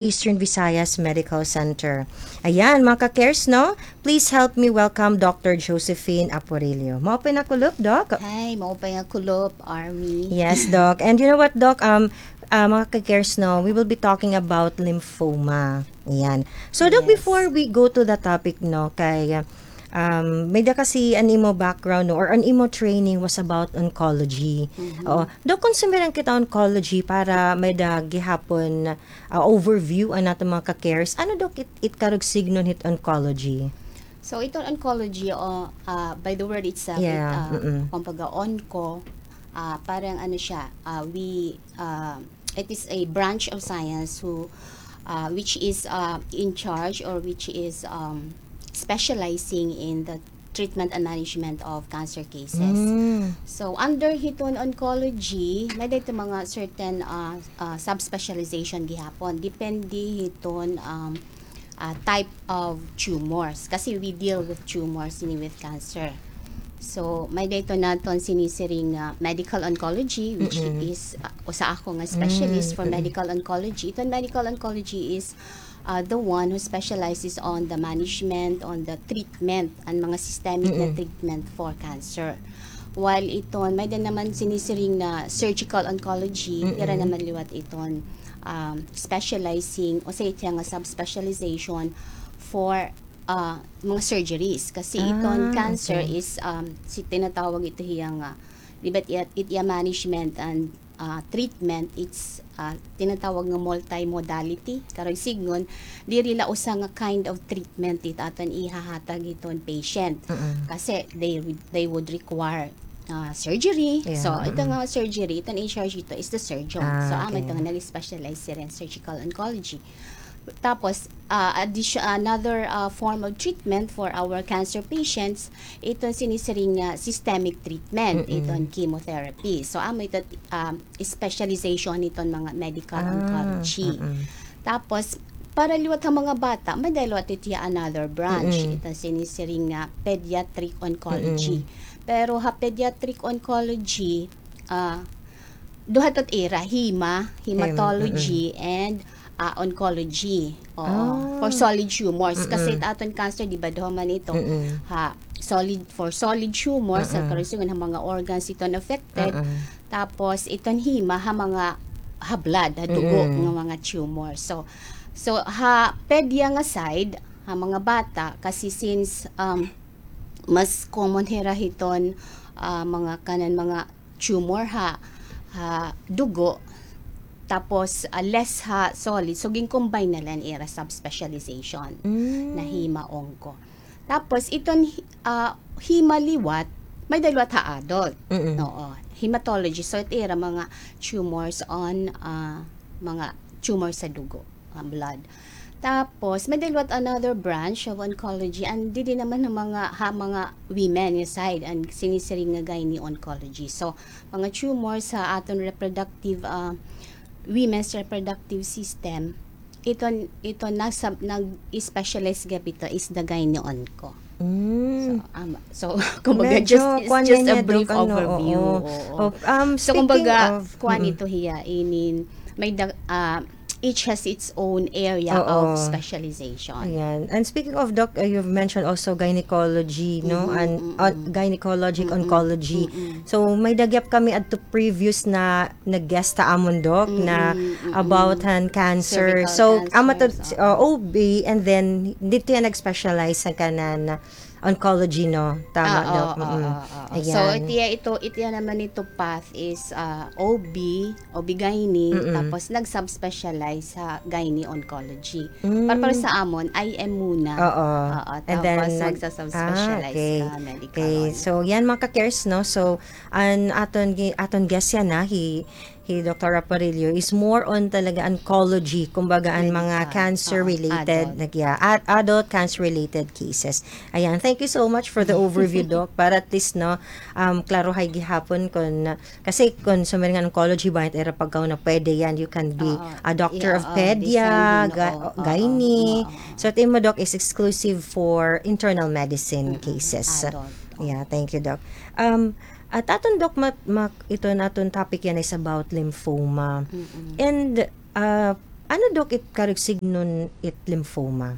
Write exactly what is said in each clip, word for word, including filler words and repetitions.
Eastern Visayas Medical Center. Ayan, mga ka-cares, no? Please help me welcome Doctor Josephine Aporillo. Maupay nga kulop, Doc. Hi, maupay nga kulop, Army. Yes, Doc. And you know what, Doc? Um, ah, mga ka-cares, no? We will be talking about lymphoma. Ayan. So, Doc, yes, before we go to the topic, no, kay, um, may-ada kasi an imo background, no, or an imo training was about oncology. Mhm. Oo. Doc, kon sumiring kita oncology para may-ada gihapon ah, overview an aton mga ka-cares. Ano, Doc, it, it karuyag signon hit oncology? So, iton oncology, o, ah, by the word itself, it, yeah, ah, mm-mm, kumbaga, onco, ah, parang ano siya, ah, we, ah, it is a branch of science who, ah, which is, ah, in charge or which is, um, specializing in the treatment and management of cancer cases. Mm. So, under hiton oncology, may-ada iton mga certain, ah, ah, subspecialization gihapon. Depende hiton, um, ah, type of tumors. Kasi we deal with tumors, hini with cancer. So, may-ada iton aton sinisiring, ah, medical oncology, which, mm-mm, is, ah, usa ako nga specialist, mm, for, mm-mm, medical oncology. Iton medical oncology is ah, the one who specializes on the management, on the treatment, an mga systemic na, mm-mm, treatment for cancer. While iton, may-ada naman sinisiring na surgical oncology, mm-mm, ira naman liwat iton, um, specializing, o sa iya nga subspecialization for, ah, mga surgeries. Kasi iton, ah, cancer, okay, is, um, si, tinatawag ito hiya nga, di ba, it, it iya management and ah, treatment, it's, ah, tinatawag nga multimodality. Karuyag sidngon, diri la usa nga kind of treatment it aton ihahatag hiton patient. Mm-mm. Kasi they would, they would require, ah, surgery. Yeah, so, ito, mm-mm, nga surgery, iton in charge ito is the surgeon. So, ah, amo ito, okay, nga nag-specialize siring surgical oncology. Tapos, ah, addition, another, ah, form of treatment for our cancer patients, iton sinisiring nga systemic treatment, mm-mm, iton chemotherapy. So, amo ito, um, specialization hiton mga medical, ah, oncology. Mm-mm. Tapos, para liwat ha mga bata, may-ada liwat ito hiya another branch, mm-mm, iton sinisiring nga pediatric oncology. Mm-mm. Pero ha pediatric oncology, ah, duha ito it ira, hema, hematology, mm-mm, and, ah, oncology. Oo. Ah. For solid tumors. Kasi, mm-mm, it aton cancer, di ba, duha man ito. Mm-mm. Ha, solid, for solid tumors, sa, mm-mm, karuyag sidngon ha mga organs iton affected. Mm-mm. Tapos, iton hema, ha mga, ha blood, ha dugo, mm-mm, nga mga tumor. So, so, ha pedia nga side, ha mga bata, kasi since, um, mas common hira hiton, ah, mga kanan, mga tumor ha, ha dugo, tapos, ah, less ha solid. So, gin-combine na la an ira subspecialization, mm, na hema-onco. Tapos, iton, ah, hema liwat, may-ada liwat ha adult. Mm-mm. Oo, hematology. So, it ira mga tumors on, ah, mga tumor sa dugo, ah, blood. Tapos, may-ada liwat another branch of oncology, and didi naman ha mga, ha mga women nga side, an sinisiring nga gynae oncology. So, mga tumor sa aton reproductive, ah, women's reproductive system, iton, iton nasa, nag-specialize gihap ito is the gynae onco. Mm. So, um, so, kumbaga, medyo just, it's kuan just a niya, brief Doc, ano, overview. Oo. Oo. Oh, um, so, speaking kumbaga, of, kuan, mm-mm, ito hiya, inin, may da-, ah, each has its own area, oo, of specialization. Ayan. And speaking of, Doc, uh, you've mentioned also gynecology, no? Mm-mm, and, uh, mm-mm, gynecologic, mm-mm, oncology. Mm-mm. So, may-ada gihap kami adto previous na nag-guest ha amon, Doc, na, mm-mm, mm-mm, about han cancer. Cervical, so, cancer, amo to, oo, uh, O B, and then didto hiya nag-specialize han kanan oncology, no? Tama, ah, Doc? Oo, mm-mm, oo, oo. So, ayan, itiya ito, itiya naman ito path is, ah, O B, O B gynae, mm-mm, tapos nag-subspecialize sa gynae oncology. Mm. Para, para sa amon, I M muna. Oo. Oo, and then tapos nag-, magsasubspecialize, ah, okay, ka medical, okay, on. So, yan, mga ka-cares, no? So, an aton gi-, aton guest yana, hi, hi Doktor Aparillo is more on talaga oncology, kumbaga, an mga, medical, cancer-related, oo, adult, nag-, yeah, ad-, adult cancer-related cases. Ayan, thank you so much for the overview, Doc, para at least, no, um, klaruhay gihapon kon, kasi kon sumiring nga oncology, bangin it ira pagkahuna, pwede yan, you can be, oo, a doctor, yeah, of, oo, pedia, depende, ga-, oo, oo, gynae. Oo, oo. So, it imo, Doc, is exclusive for internal medicine, mm-mm, cases. Adult. Yeah, thank you, Doc. Um, At aton, Doc, mat-, mak-, iton aton topic yana is about lymphoma. Mm-mm. And, ah, Ano, Doc, it karuyag sidngon it lymphoma?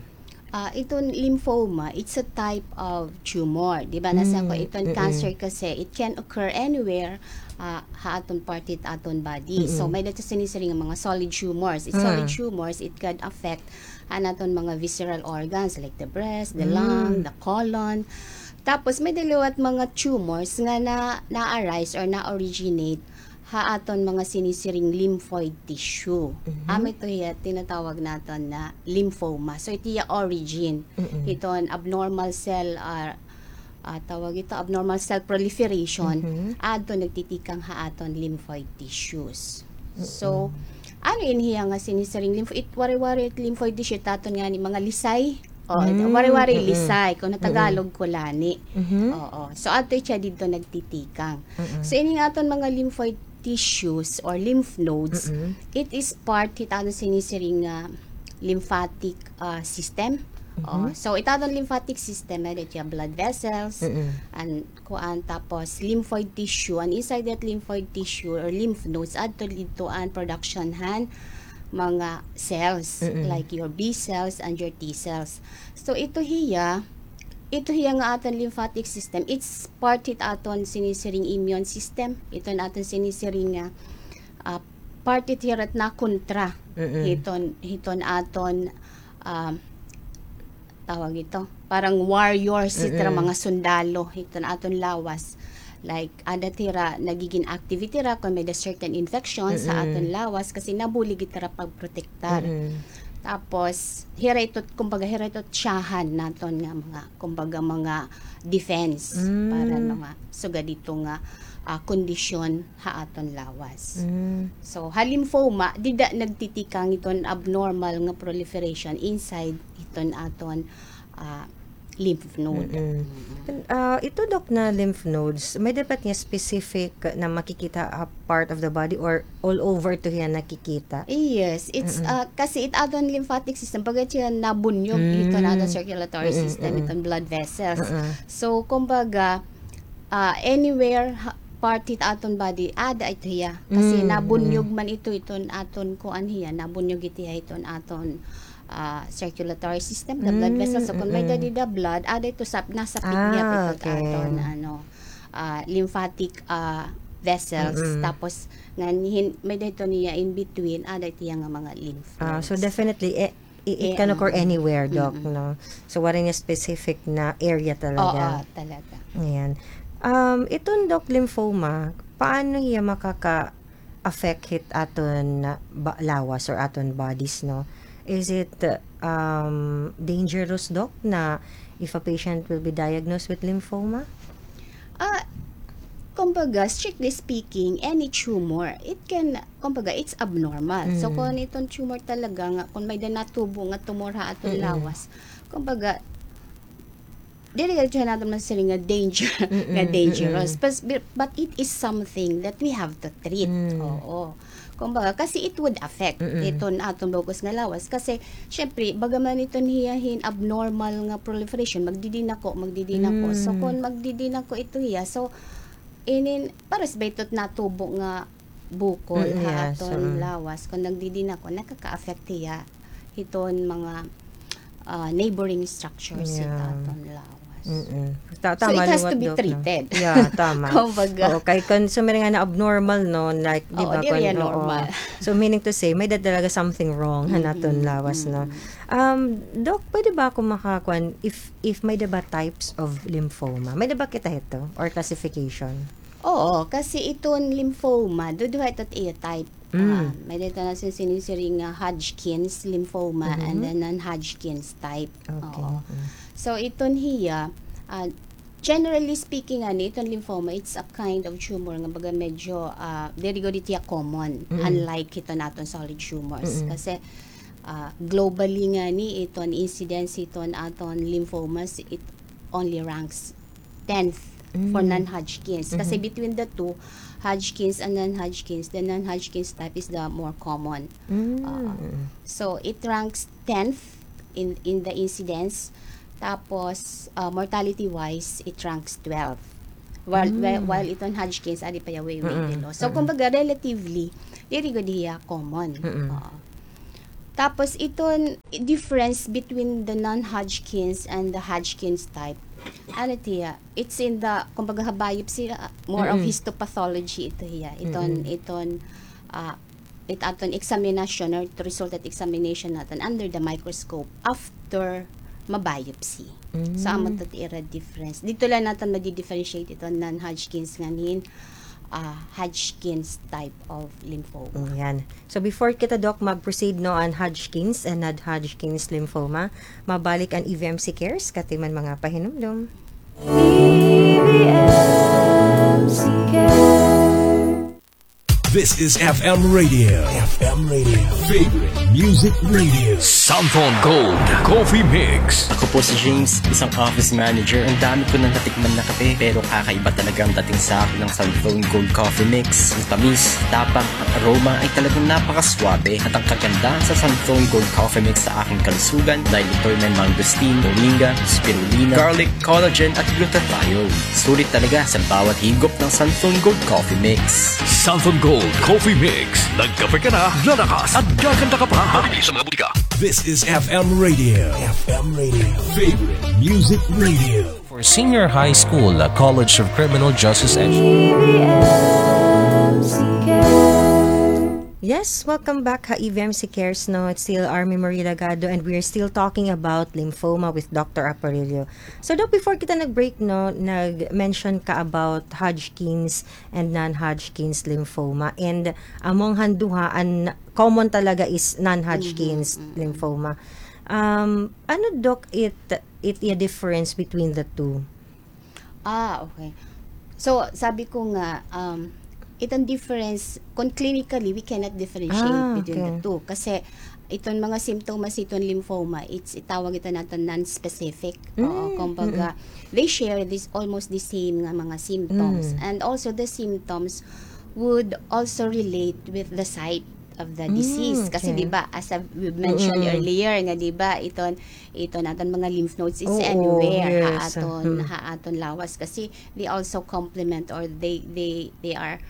Ah, iton lymphoma, it's a type of tumor. Di ba, nasiring ko, iton cancer kasi, it can occur anywhere, ah, ha aton part hit aton body. So, may-ada ito sinisiring nga mga solid tumors. It solid tumors, it can affect an aton mga visceral organs like the breast, the lung, the colon. Tapos, may-ada liwat mga tumors nga na, na-arise or na-originate ha aton mga sinisiring lymphoid tissue. Amo ito hiya tinatawag naton na lymphoma. So, ito hiya origin hiton abnormal cell, ah, ah, tawag ito, abnormal cell proliferation, adto nagtitikang ha aton lymphoid tissues. So, ano ini hiya nga sinisiring lympho-, it, waray-waray it lymphoid tissue, it aton ngani mga lisay. O, waray-waray lisay, kon ha Tagalog, kulani. Oo. So, adto siya didto nagtitikang. So, ini nga aton mga lymphoid tissues or lymph nodes, it is part hit aton sinisiring nga lymphatic, ah, system. O, so, it aton lymphatic system, may-ada siya blood vessels, an kuan, tapos lymphoid tissue, an inside that lymphoid tissue or lymph nodes, adto didto an production han mga cells, like your B cells and your T cells. So, ito hiya, ito hiya nga aton lymphatic system, it's part hit aton sinisiring immune system. Iton aton sinisiring nga, ah, part hit hiya nga nakontra hiton, hiton aton, ah, tawag ito, parang warriors, ito nga mga sundalo, ito nga aton lawas. Like, ada hira, nagigin active hira kon may-ada certain infections sa aton lawas kasi nabulig hira pagprotektar. Tapos, hira ito, kumbaga, hira ito tsahan naton nga mga, kumbaga, mga defense para mga sugad dito nga, ah, kondisyon ha aton lawas. So, ha lymphoma, dida nagtitikang iton abnormal nga proliferation inside iton aton, ah, lymph node. Ah, ito, Doc, na lymph nodes, may-ada ba it nga specific na makikita ha part of the body or all over ito hiya nakikita? Yes, it's, ah, kasi it aton lymphatic system, baga siya nabunyog hiton aton circulatory system, iton blood vessels. So, kumbaga, ah, anywhere ha, part hit aton body, ada ito hiya. Kasi nabunyog man ito, iton aton kuan hiya, nabunyog ito hiya, iton aton, ah, circulatory system, the blood vessels. So, kon may-ada dida blood, ada ito sa, nasapit niya ito aton, ano, ah, lymphatic, ah, vessels. Tapos, ngan hin-, may-ada ito niya in between, ada ito hiya nga mga lymph nodes. Ah, so definitely, eh, I-, it can occur anywhere, Doc, no? So, waray nga specific na area talaga. Oo, talaga. Ayan. Um, iton, Doc, lymphoma, paano hiya makaka-affect hit aton ba-, lawas or aton bodies, no? Is it, um, dangerous, Doc, na if a patient will be diagnosed with lymphoma? Ah, kumbaga, strictly speaking, any tumor, it can, kumbaga, it's abnormal. So, kon iton tumor talaga nga, kon may-ada natubo nga tumor ha aton lawas, kumbaga, diri gad siya naton masiring nga danger, nga dangerous. But, but it is something that we have to treat. Oo. Kumbaga, kasi it would affect iton aton bug-os nga lawas. Kasi, syempre, bagaman iton hiya hin abnormal nga proliferation, magdidinako, magdidinako. So, kon magdidinako ito hiya, so, inin, pares ba ito hit natubo nga bukol ha aton lawas? Kon nagdidinako, nakaka-affect hiya hiton mga, ah, neighboring structures hit aton lawas. So, it has to be treated. Yeah, tama. Kumbaga. Oo, kay kon sumiring nga na abnormal, no, like, di ba, diri normal. So, meaning to say, may-ada talaga something wrong han aton lawas, no? Um, Doc, pwede ba ako makakuan if, if may-ada ba types of lymphoma? May-ada ba kita hito or classification? Oo, kasi iton lymphoma, duduha ito it iya type. Ah, may-ada ito nga sinisiring nga Hodgkin's lymphoma and then non-Hodgkin's type. Okay. Oo. So, iton hiya, ah, generally speaking, ani, iton lymphoma, it's a kind of tumor nga baga medyo, ah, diri gud hiya common, unlike hiton aton solid tumors. Kasi, ah, globally ngani, iton incidence hiton aton lymphomas, it only ranks tenth for non-Hodgkin's. Kasi between the two, Hodgkin's and non-Hodgkin's, the non-Hodgkin's type is the more common. Ah, so, it ranks tenth in, in the incidence. Tapos, ah, mortality-wise, it ranks twelve. While, while, while iton Hodgkin's, adi pa hiya way, way below. So, kumbaga, relatively, diri gud hiya common. Oo. Tapos iton difference between the non-Hodgkin's and the Hodgkin's type. Ano tiya? It's in the, kumbaga, ha biopsy, ah, more of histopathology ito hiya. Iton, iton, ah, it aton examination or it result at examination naton under the microscope after ma-biopsy. So, amo to it ira difference. Didto la naton madi-differentiate iton non-Hodgkin's ngan hin, ah, Hodgkin's type of lymphoma. Mm, yan. So, before kita, Doc, mag-proceed, no, an Hodgkin's and non-Hodgkin's lymphoma, mabalik an E V M C Cares, katiman mga pahinumdom. E V M C Cares. This is F M Radio. F M Radio. Favorite Music Radio. Santon Gold Coffee Mix. Ako po si James, isang office manager. Ang dami ko nang natikman na kape, pero kakaiba talaga ang dating sa akin ng Santon Gold Coffee Mix. Ang tamis, tapang, at aroma ay talagang napakaswabe. At ang kagandahan sa Santon Gold Coffee Mix sa aking kalusugan dahil ito ay may mangosteen, moringa, spirulina, garlic, collagen, at glutathione. Sulit talaga sa bawat higop ng Santon Gold Coffee Mix. Santon Gold Coffee Mix. Nagkape ka na, lalakas, at gaganda ka pa. Mabibili sa mga butika. This is F M Radio. F M Radio. Favorite Music Radio. For Senior High School, a College of Criminal Justice Education. E V M C Cares. Yes, welcome back ha E V M C Cares, no? It's still Army Marie Lagado, and we're still talking about lymphoma with Doctor Aparillo. So, Doc, before kita nag-break, no, nag-mention ka about Hodgkin's and non-Hodgkin's lymphoma. And among han duha, an common talaga is non-Hodgkin's lymphoma. Um, ano, Doc, it, it, iya difference between the two? Ah, okay. So, sabi ko nga, um, iton difference, kung clinically, we cannot differentiate between the two. Kasi, iton mga simptomas, iton lymphoma, it's, itawag ito naton non-specific. Oo, kumbaga, they share this, almost the same nga mga symptoms. And also, the symptoms would also relate with the site of the disease. Kasi, di ba, as I've, we've mentioned earlier, nga, di ba, iton, iton aton mga lymph nodes is anywhere ha aton, ha aton lawas. Kasi, they also complement or they, they, they are,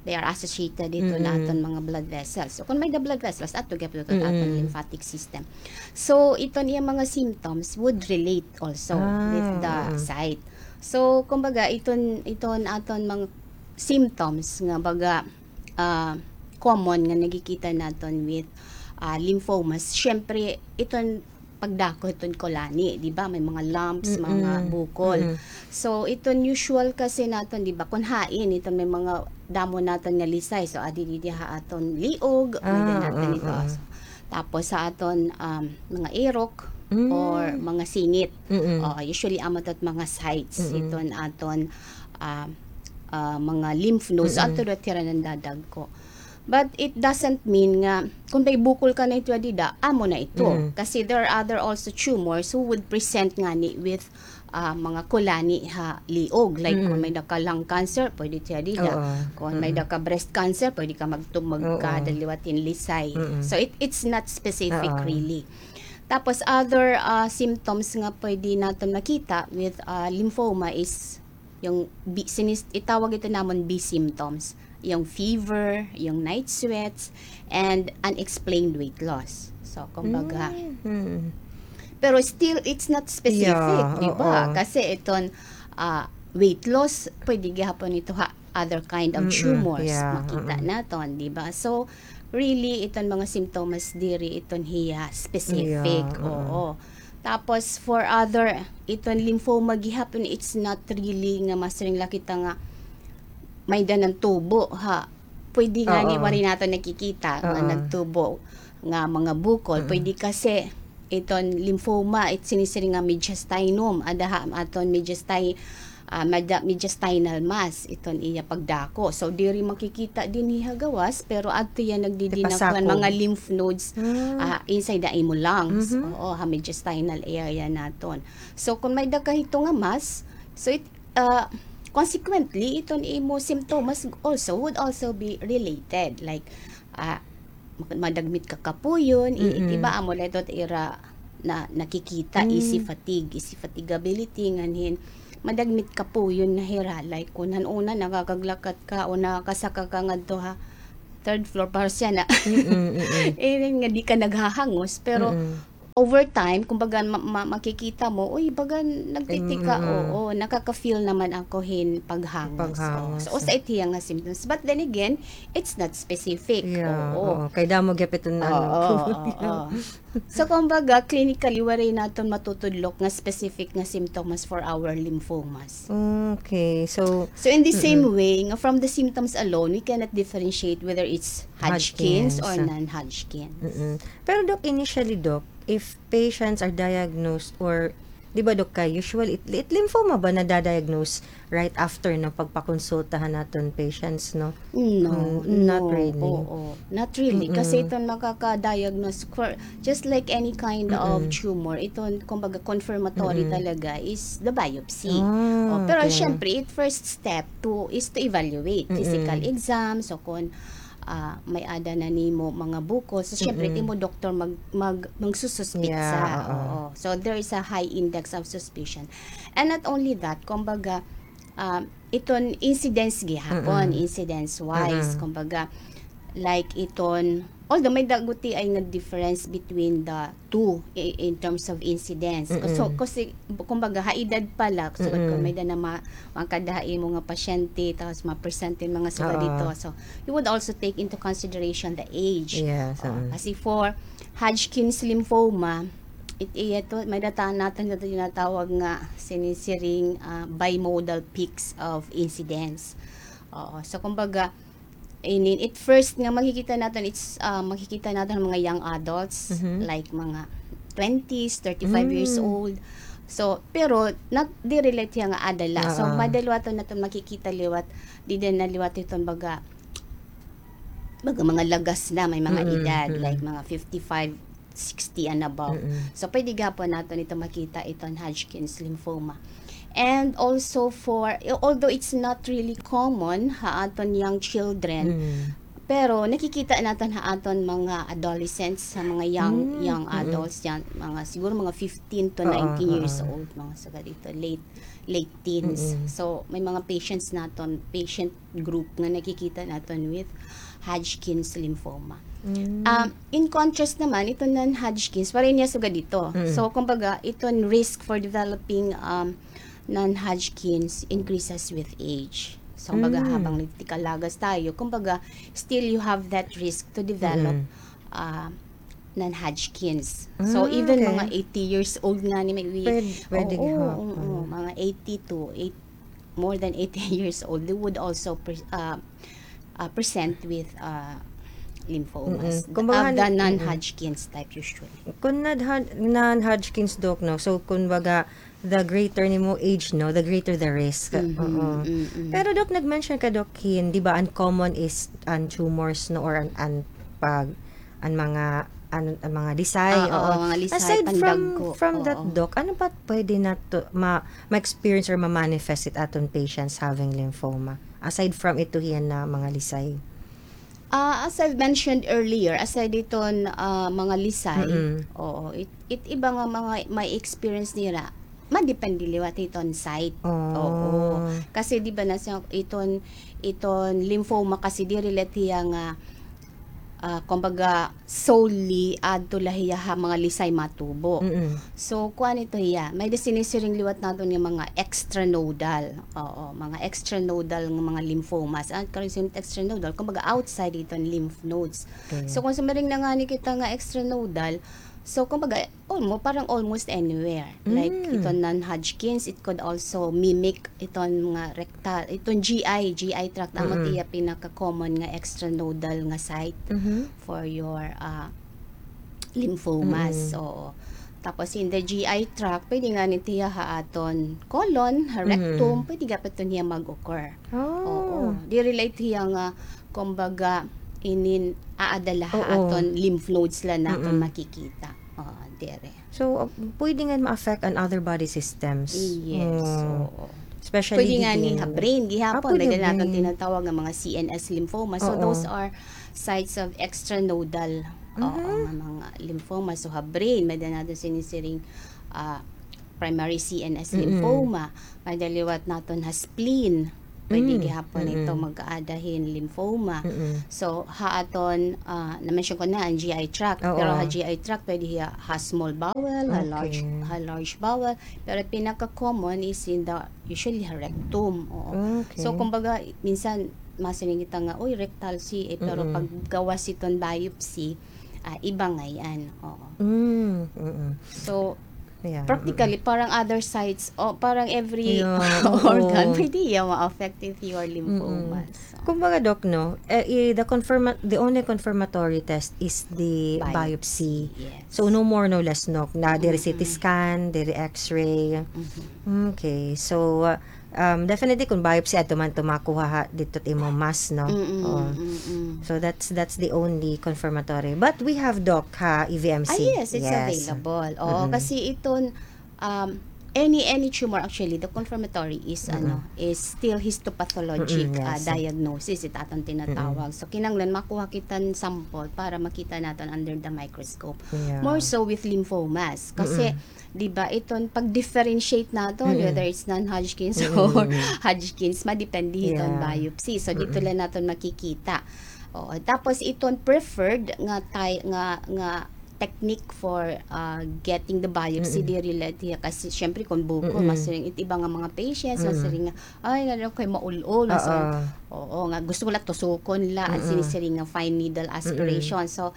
they are associated iton aton mga blood vessels. So, kung may-ada blood vessels, adto gihapon iton aton lymphatic system. So, iton iya mga symptoms would relate also with the site. So, kumbaga, iton, iton aton mga symptoms nga baga, ah, common nga nakikita naton with, ah, lymphomas, syempre, iton pagdako hiton kulani, di ba? May mga lumps, mga bukol. So, iton usual kasi naton, di ba? Kun hain, iton may mga damo naton nga lisay. So, adi didi ha aton liog, may-ada naton ito. Tapos sa aton, um, mga irok or mga singit. Oh, usually, amo ito mga sites, iton aton, ah, ah, mga lymph nodes. So, adto daw it ira nandadagko. But it doesn't mean nga, kung may bukol ka na ito, dida, amo na ito. Kasi there are other also tumors who would present ngani with, ah, mga kulani ha liog. Like, kung may-ada ka lung cancer, pwede siya dida. Kung may-ada ka breast cancer, pwede ka magtumag ka, daliwat hin lisay. So, it, it's not specific really. Tapos, other, ah, symptoms nga pwede naton makita with, ah, lymphoma is Yung B, sinis-, itawag ito namon B symptoms. Yung fever, yung night sweats, and unexplained weight loss. So, kumbaga, pero still, it's not specific, di ba? Kasi iton, ah, weight loss, pwede gihapon ito ha other kind of tumors, makita naton, di ba? So, really, iton mga simptomas diri, iton hiya specific, oo. Tapos, for other, iton lymphoma gihapon, it's not really nga masiring la kita nga may-ada nan tubo, ha. Pwede ngani waray naton nakikita nga nagtubo nga mga bukol. Pwede kasi iton lymphoma, it sinisiring nga mediastinum. Ada ha aton mediasti-, ah, mada-, mediastinal mass, iton iya pagdako. So, diri makikita dinhi ha gawas, pero adto iya nagdidi na kuan mga lymph nodes, ah, inside the imo lungs. Oo, ha mediastinal area naton. So, kung may-ada ka hito nga mass, so it, ah, consequently, iton imo symptoms also would also be related. Like, ah, mak-, madagmit ka kapuyon, i-, iba amo la ito ira na nakikita, easy fatigue, easy fatigability, ngan hin, madagmit kapuyon na hira. Like, kun han una, nakakaglakat ka o nakakasaka ka ngadto ha, third floor, para siya na. Mm-mm, mm-mm. Eh, nga di ka naghahangos, pero Mm-mm. over time, kumbaga, ma-, ma-, makikita mo, uy, baga nagtitika, Mm-mm. oo, nakaka-feel naman ako hin paghangos. Paghangos, So, oo. Usa it hiya nga symptoms. But then again, it's not specific. Yeah, Oo. oo. Kay damo gihap iton Oo, ano. oo. So, kumbaga, clinically, waray naton matutudlok nga specific nga symptoms for our lymphomas. Okay. So, So, in the same Mm-mm. way, nga from the symptoms alone, we cannot differentiate whether it's Hodgkin's or Hodgkin's. non-Hodgkin's. Mm-mm. Pero, Doc, initially, Doc, if patients are diagnosed or, di ba, Doc, kay usually, it, it lymphoma ba nadadiagnose right after ng pagpakonsulta han aton patients, no? No, Mm, not no, really. oo. Not really. Kasi Mm-mm. iton makaka-diagnose for, just like any kind of Mm-mm. tumor, iton, kumbaga, confirmatory Mm-mm. talaga is the biopsy. Ah, Oh, pero okay. syempre, it first step to, is to evaluate Mm-mm. physical exam, so kung, ah, may-ada na nimo mga bukol, so syempre, Mm-mm. it imo doktor mag-, mag-, magsususpitsa. Yeah, oo. Oo. So, there is a high index of suspicion. And not only that, kumbaga, um, iton incidence gihapon, Mm-mm. incidence-wise, Mm-mm. kumbaga, like iton, although may-ada gutiay nga difference between the two i-, in terms of incidence. Mm-mm. So, kasi, kumbaga, ha edad pa la, so, Mm-mm. kung may-ada na ma-, makada ha imo nga pasyente, tapos ma-present hin mga sugad Oo. dito. So, you would also take into consideration the age. Yes, Oo, mm. kasi for Hodgkin's lymphoma, it, iya to, may-ada naton nga tinatawag nga sinisiring, ah, bimodal peaks of incidence. Oo. So, kumbaga, inin, it first nga makikita naton, it's, ah, makikita naton mga young adults, Mhm. like mga twenties, thirty-five years Mm. old. So, pero, not, diri la hiya nga ada la. So, Oo. may-ada liwat naton makikita liwat, dida na liwat iton baga, baga mga lagas na, may mga Mm, edad, mm. like mga fifty-five, sixty and above. Mm-mm. So, pwede gihapon naton ito makita, iton Hodgkin's lymphoma. And also for, although it's not really common ha aton young children, Mm. pero nakikita naton ha aton mga adolescents, sa mga young, Mm, young mm-mm. adults yan, mga, siguro mga fifteen to Oo, nineteen years oo. old, mga sugad dito, late, late teens. Mm-mm. So, may mga patients naton, patient group nga nakikita naton with Hodgkin's lymphoma. Mm. Um, in contrast naman, ito non-Hodgkin's, waray niya sugad dito. Mm. So, kumbaga, iton risk for developing, um, non-Hodgkin's increases with age. So, kumbaga, Mm. habang nagtikalagas tayo, kumbaga, still you have that risk to develop, Mm. uh, non-Hodgkin's. So, Mm, even okay. mga eighty years old nga ni may Pwed-, pwede oo, gihapon. Oo, mga eighty to eight-, more than eighty years old, they would also pre-, uh, uh, present with, uh, lymphomas Mm-mm. Kumbaga, of the han-, mm-mm. non-Hodgkin's type usually. Kung non-Hod-, non-Hodgkin's, Doc, no? So, kumbaga, the greater nimo age, no, the greater the risk. Mhm, Oo. Mm-mm. Pero, Doc, nag-mention ka, Doc, hin, di ba, an common is an tumors, no, or an, an pag, an mga, an, an mga lisay, Oo, oo. mga lisay, Aside from, pandagko. from that, Oo. Doc, ano pa pwede nato ma-, ma-experience or ma-manifest it aton patients having lymphoma? Aside from ito hiyan na mga lisay. Ah, as I've mentioned earlier, aside iton, ah, mga lisay, Mm-mm. oo, it, it iba nga mga may experience nira, madepende liwat iton site. Oh. Oo. Kasi di ba na siya, iton, iton lymphoma kasi diri la hiya nga, ah, kumbaga, solely adto la hiya ha mga lisay matubo. Mm-mm. So, kuan ito hiya. May-ada sinisiring liwat naton nga mga extranodal. Oo, mga extranodal nga mga lymphomas. An karon sin extranodal, kumbaga outside iton lymph nodes. Okay. So, kung sumiring na ngani kita nga extranodal, so, kumbaga, almo-, parang almost anywhere. Like, Mm. iton non-Hodgkin's, it could also mimic iton mga rectal, iton G I, G I tract, amo Mm-mm. it iya pinaka-common nga extranodal nga site Mhm. for your, ah, lymphomas. Mm-mm. Oo. Tapos in the G I tract, pwede ngani hiya ha aton colon, ha Mm-hmm. rectum, pwede gihapon hiya mag-occur. Oh. Oo. Diri la hiya nga, kumbaga, inin aada la ha Oo. aton lymph nodes la naton Mm-mm. makikita. Oo, diri. So, uh, pwede nga ma-affect an other body systems. Yes, Mm. oo. Especially Pwede ngani didi ha brain, gihapon, Ah, pwede may-ada naton brain. tinatawag nga mga C N S lymphoma. So, Oo. those are sites of extranodal, oo, Mhm. nga mga lymphoma. So, ha brain, may-ada naton sinisiring, ah, primary C N S Mm-mm. lymphoma. May-ada liwat naton ha spleen. Pwede gihapon ito mag-aada hin lymphoma. So, ha aton, ah, na-mention ko na an G I tract. Oo. Pero ha G I tract, pwede hiya ha small bowel, ha large, ha large bowel. Pero pinaka-common is in the, usually ha rectum. Oo. Okay. So, kumbaga, minsan, masiring kita nga, "Uy, rectal C A," pero pag gawas iton biopsy, ah, iba ngay-an. Oo. Mm, mm. So, practically, parang other sites, o parang every organ, pwede hiya ma-affect if you are lymphomas. Kumbaga, Doc, no, eh, i-, the confirma-, the only confirmatory test is the biopsy. Yes. So, no more, no less, no, na diri C T scan, diri X-ray. Okay. So, uh, Um, definitely, kung biopsy, adto man ito makuha ha, didto it imo mass, no? Oo. So, that's, that's the only confirmatory. But we have, Doc, ha, E V M C. Ah, yes, it's available. Oo, kasi iton, um, any, any tumor, actually, the confirmatory is, ano, is still histopathologic, ah, diagnosis, it aton tinatawag. So, kinahanglan makuha kita hin sample para makita naton under the microscope. More so with lymphomas. Kasi, di ba, iton pag-differentiate naton, whether it's non-Hodgkin's or Hodgkin's, madepende hiton biopsy. So, didto la naton makikita. Oo. Tapos, iton preferred nga ty-, nga, nga technique for, ah, getting the biopsy, diri la hiya kasi, syempre, kung bukol, masiring, it iba nga mga patients, masiring nga, "Ay, nga daw kay maul-ol." Oo, nga gusto ko la tusukon la, an sinisiring nga fine needle aspiration. So,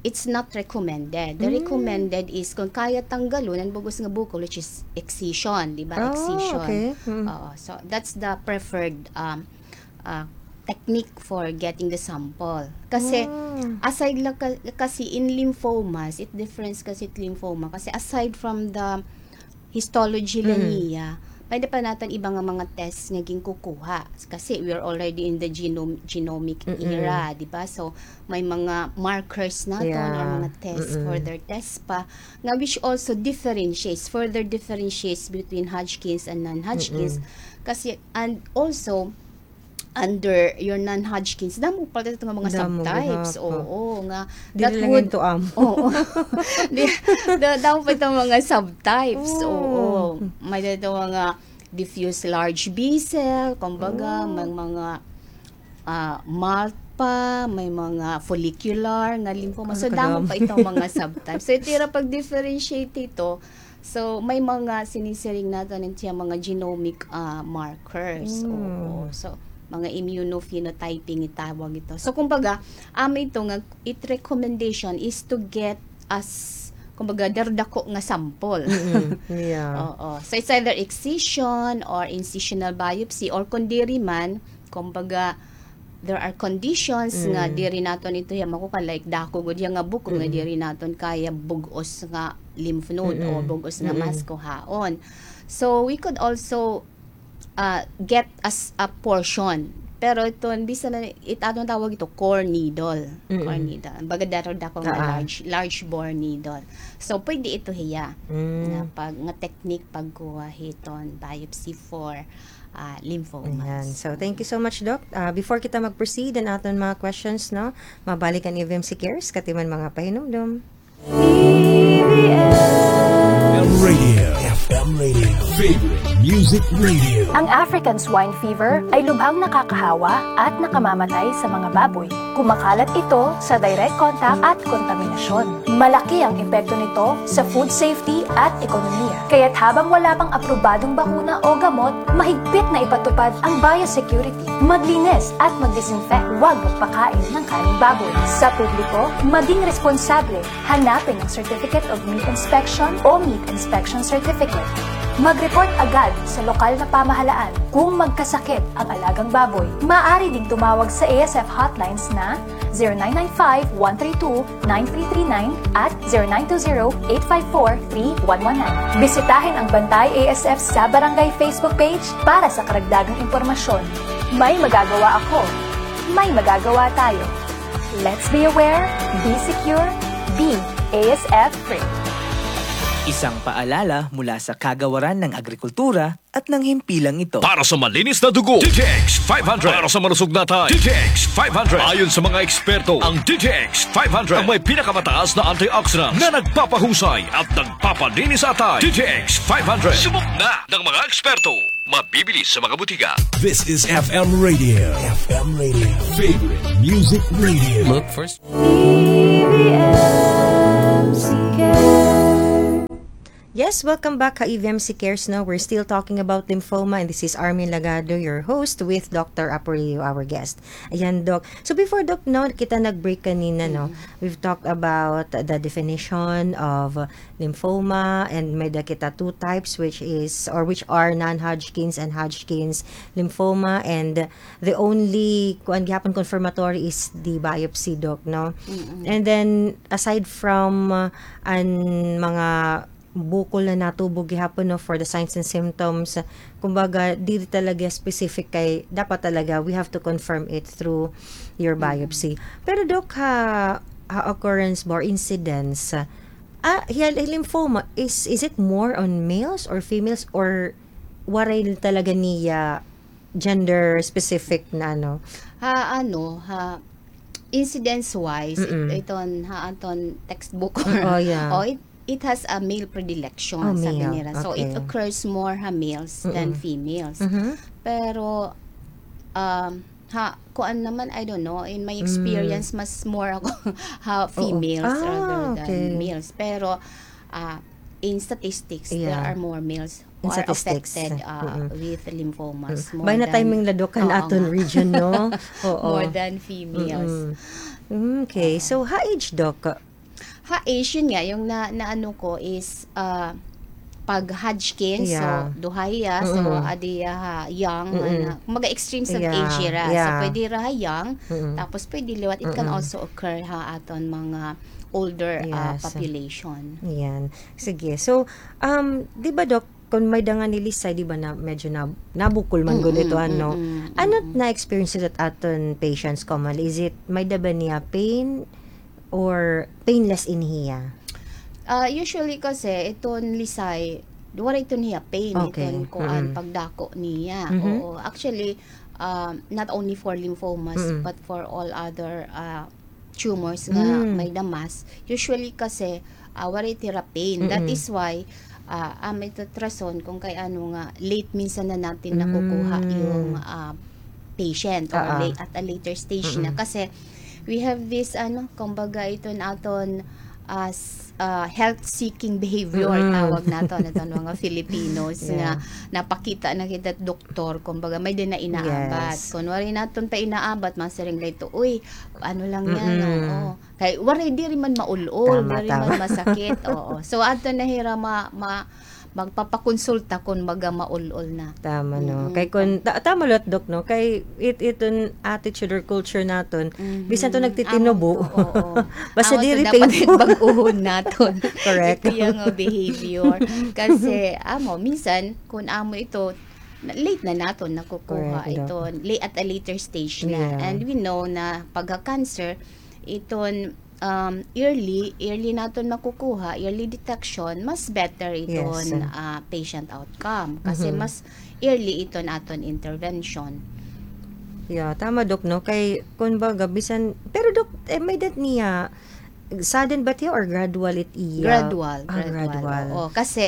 it's not recommended. The recommended is kung kaya tanggalon an bug-os nga bukol, which is excision, di ba? Excision. Oo, so that's the preferred, um, uh, technique for getting the sample. Kasi, aside la ka-, kasi in lymphomas, it difference kasi it lymphoma. Kasi aside from the histology la niya, may-ada pa naton iba nga mga tests nga ginkukuha. Kasi we are already in the genome-, genomic era, di ba? So, may mga markers naton or mga tests, further tests pa, nga which also differentiates, further differentiates between Hodgkin's and non-Hodgkin's. Kasi, and also, under your non-Hodgkin's, damo pa ito nga mga subtypes. Oo, nga that would, oo. Di, da-, damo pa ito mga subtypes. Oo. May-ada ito mga diffuse large B cell, kumbaga, may mga, ah, malt pa, may mga follicular nga lymphoma. So, damo pa ito mga subtypes. So, ito ira pag-differentiate ito, so, may mga sinisiring naton it iya mga genomic, ah, markers. Oo. So, mga immunophenotyping itawag ito. So, kumbaga, amo ito nga it recommendation is to get as, kumbaga, daradako nga sample. Oo. So, it's either excision or incisional biopsy or kung diri man, kumbaga, there are conditions nga diri naton ito hiya makukuha, like, dako gud hiya nga bukol nga diri naton kaya bug-os nga lymph node o bug-os nga mass kuhaon. So, we could also, ah, get as a portion. Pero iton, bisan na, it aton tawag ito, core needle. Core needle. Baga daradako nga large, large bore needle. So, pwede ito hiya. Nga pag, nga technique pagkuha hiton biopsy for ah, lymphomas. Ayan. So, thank you so much, Doc. Ah, before kita mag-proceed an aton mga questions, no, mabalik an E V M C Cares, katiman mga pahinumdom. F M Radio. F M Radio. Favorite Music Radio. Ang African Swine Fever ay lubhang nakakahawa at nakamamatay sa mga baboy. Kumakalat ito sa direct contact at kontaminasyon. Malaki ang epekto nito sa food safety at ekonomiya. Kaya't habang wala pang aprobadong bakuna o gamot, mahigpit na ipatupad ang biosecurity. Maglinis at magdisinfect. Huwag magpakain ng karneng baboy. Sa publiko, maging responsable. Hanapin ang Certificate of Meat Inspection o Meat Inspection Certificate. Mag-report agad sa lokal na pamahalaan kung magkasakit ang alagang baboy. Maaari ding tumawag sa A S F hotlines na zero nine nine five, one three two, nine three three nine at zero nine two zero, eight five four, three one one nine. Bisitahin ang Bantay A S F sa Barangay Facebook page para sa karagdagang impormasyon. May magagawa ako. May magagawa tayo. Let's be aware, be secure, be A S F free. Isang paalala mula sa Kagawaran ng Agrikultura at ng himpilang ito. Para sa malinis na dugo, D T X five hundred. Para sa malusog na atay, D T X five hundred. Ayon sa mga eksperto, ang D T X five hundred ang may pinakamataas na antioxidants na nagpapahusay at nagpapalinis sa atay. D T X five hundred. Subok na ng mga eksperto. Mabibili sa mga butika. This is F M Radio. F M Radio. Favorite Music Radio. Look for Yes, welcome back ha E V M C Cares, no? We're still talking about lymphoma, and this is Armin Lagado, your host, with Doctor Apurio, our guest. Ayan, Doc. So before, Doc, no, kita nag-break kanina, no? We've talked about the definition of lymphoma, and may da kita two types, which is, or which are non-Hodgkin's and Hodgkin's lymphoma, and the only, kuan gihapon, confirmatory is the biopsy, Doc, no? And then, aside from, uh, an mga bukol na natubo gihapon, no, for the signs and symptoms, kumbaga, diri talaga specific kay, dapat talaga, we have to confirm it through your biopsy. Pero, Doc, ha, ha occurrence ba or incidence, ah, hiya lymphoma, is, is it more on males or females, or waray talaga niya gender specific na ano? Ha, ano, ha, incidence-wise, it-, iton, ha, aton textbook. Oh, yeah. Oh, it, it has a male predilection, sabi nira. So, it occurs more ha males than females. Pero, um, ha, kuan naman, I don't know, in my experience, mas more ako ha females rather than males. Pero, ah, in statistics, there are more males who are affected, ah, with lymphomas more than, timing la, Doc, kan aton region, no? Oo. More than females. Okay. So, ha age, Doc? Ha age, yun nga, yung na, naano ko is, ah, pag Hodgkin's, so, duha hiya, so, adi hiya ha young, ano, kumbaga extremes of age ra. So, pwede ra ha young, tapos pwede liwat, it can also occur ha aton mga older, ah, population. Yan. Sige. So, um, di ba, Doc, kung may da nga ni Lisay, di ba, na medyo na, nabukol man gud ito, ano? Ano na experience that aton patients commonly? Is it, may da ba niya pain or painless ini hiya? Ah, usually kasi, iton Lisay, wala iton hiya pain, iton kuan, pagdako niya. Oo. Actually, um, not only for lymphomas, but for all other, ah, tumors nga may da mass. Usually kasi, ah, waray it hira pain. That is why, ah, amo ito it rason kung kay ano nga late minsan na natin nakukuha yung, ah, patient or late, at a later stage na. Kasi we have this, ano, kumbaga iton aton, ah, s-, ah, health-seeking behavior, tawag naton, aton mga Filipinos nga napakita na kita doktor, kumbaga, may da na inaabat. Kung waray naton pa inaabat, masiring la ito, "Uy, ano lang yan, oo." Kay waray, diri man maul-ol, diri man masakit, oo. So, adto na hira ma-, ma-, magpapakonsulta kon baga maul-ol na. Tama, no? Kay kon, ta-, tama liwat, Doc, no? Kay it-, iton attitude or culture naton, bisan to nagtitinubo. Basta diri painful. Bag-ohon naton. Correct. Ito yung, uh, behavior. Kasi, amo, minsan, kon amo ito, na-, late na naton nakukuha ito, la-, at a later stage na. And we know na pagka-cancer, iton, um, early, early naton makukuha, early detection, mas better iton, ah, patient outcome. Kasi mas early iton aton intervention. Yeah, tama, Doc, no? Kay, kun baga, bisan, pero, Doc, eh, may-ada niya, sudden ba it hiya or gradual it iya? Gradual, ah, gradual. Gradual. Oo, kasi